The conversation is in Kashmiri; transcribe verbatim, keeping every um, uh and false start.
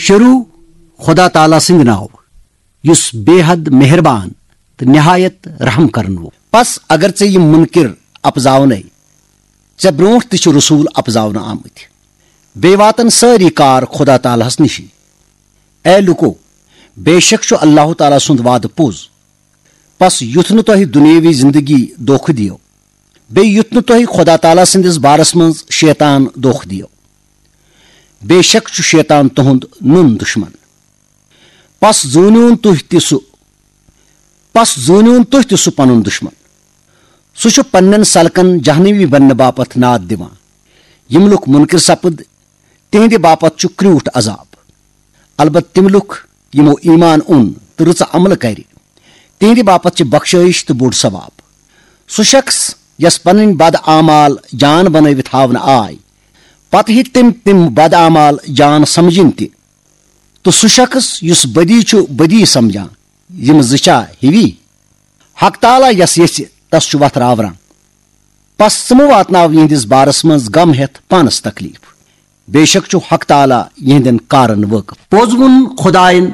شروع خدا تعالیٰ سٕنٛدِ ناوٕ، یُس بے حد مہربان تہٕ نہایت رحم کرن وول۔ پس اگر ژےٚ یِم منکر اپزاونے، ژےٚ برونٛٹھ تہِ چھِ رسول اپزاونہٕ آمٕتۍ۔ بیٚیہِ واتن سٲری کار خدا تعالیٰ ہس نِشی۔ اے لوٗکو، بے شک چھُ اللہ تعالیٰ سُنٛد وعدٕ پوٚز۔ پس یُتھ نہٕ تۄہہِ دُنیٲوی زندگی دھوکہٕ دِیو، بیٚیہِ یُتھ نہٕ تۄہہِ خدا تعالیٰ سٕنٛدِس بارس منٛز شیطان دھوکہٕ دِیو۔ بے شک چھُ شیطان تُہُنٛد نُن دُشمن۔ پس زوٗنِوُن تُہۍ تہِ سُہ، پس زوٗنِوُن تُہۍ تہِ سُہ پنُن دُشمن۔ سُہ چھُ پننٮ۪ن سلکن جہنمی بننہٕ باپتھ ناد دِوان۔ یِم لُکھ منکر سپٕد، تِہنٛدِ باپتھ چھُ کرٛوٗٹھ عذاب۔ البتہ تِم لُکھ، یِمو ایمان اوٚن تہٕ رٕژٕ عملہٕ کرِ، تِہنٛدِ باپتھ چھِ بخشٲیِش تہٕ بوٚڑ ثواب۔ سُہ شخص یس پنٕنۍ بد اعمال جان بنٲوِتھ ہاونہٕ آے، پتہٕ ہیٚکہِ تٔمۍ تِم بد اعمال جان سمجھِنۍ تہِ۔ تہٕ سُہ شخص یُس بدی چھُ بدی سمجھان، یِم زٕ چھا ہِوی؟ حق تعالیٰ یس یژھِ، تس چھُ وتھ راوران۔ پس ژٕ مہٕ واتناو یِہنٛدِس بارس منٛز غم ہٮ۪تھ پانس تکلیف۔ بے شک چھُ حق تعالیٰ یِہنٛدٮ۪ن کارن وٲقف۔ پوٚز ووٚن خداین